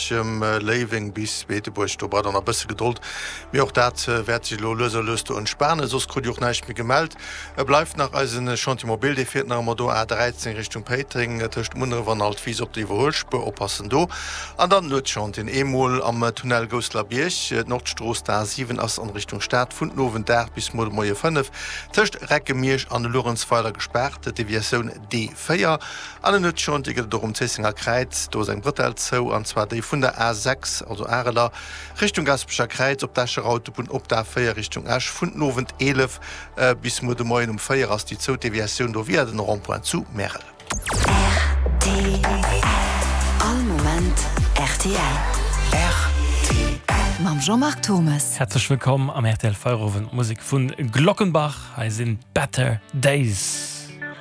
Bierchem, Léiweng bis Beetebuerg. Do braucht der nach e bësse Gedold, mee och dat wäert sech elo lues a lues do entspanen. Soss krut Dir och näischt méi gemellt. Et bleift nach eisen Chantier mobile, dee fiert nach ëmmer do, A 13 Richtung Péiteng, tëscht Munneref an Altwis op der Iwwerhuelspuer, oppassen do. An dann Nuetschantieren, eemol am Tunnel Gousselerbierg, d'Nordstrooss, d'A 7 ass an Richtung Stad vun den Owend 8 bis muer de Moie 5 tëscht Recke-Miersch an Luerenzweiler gespaart, Deviatioun D4. An en Nuetschantier gëtt et och um Zéissenger Kräiz, do ass eng Brëtell zou, an zwar déi vun der A 6, also Areler, Richtung Gaspecher Kräiz op d'Escher Autobunn op d'A 4 Richtung Esch vun den Owend 11 bis muer de Moien um 4 ass déi zou, Deviatioun do via den Rond-point zu Märel. Rtl. All Moment rtl. Rtl. Mam Jean-Marc Thommes. Häerzlech wëllkomm am rtl Feierowend. Musek vun Glockenbach, hei sinn Better Days.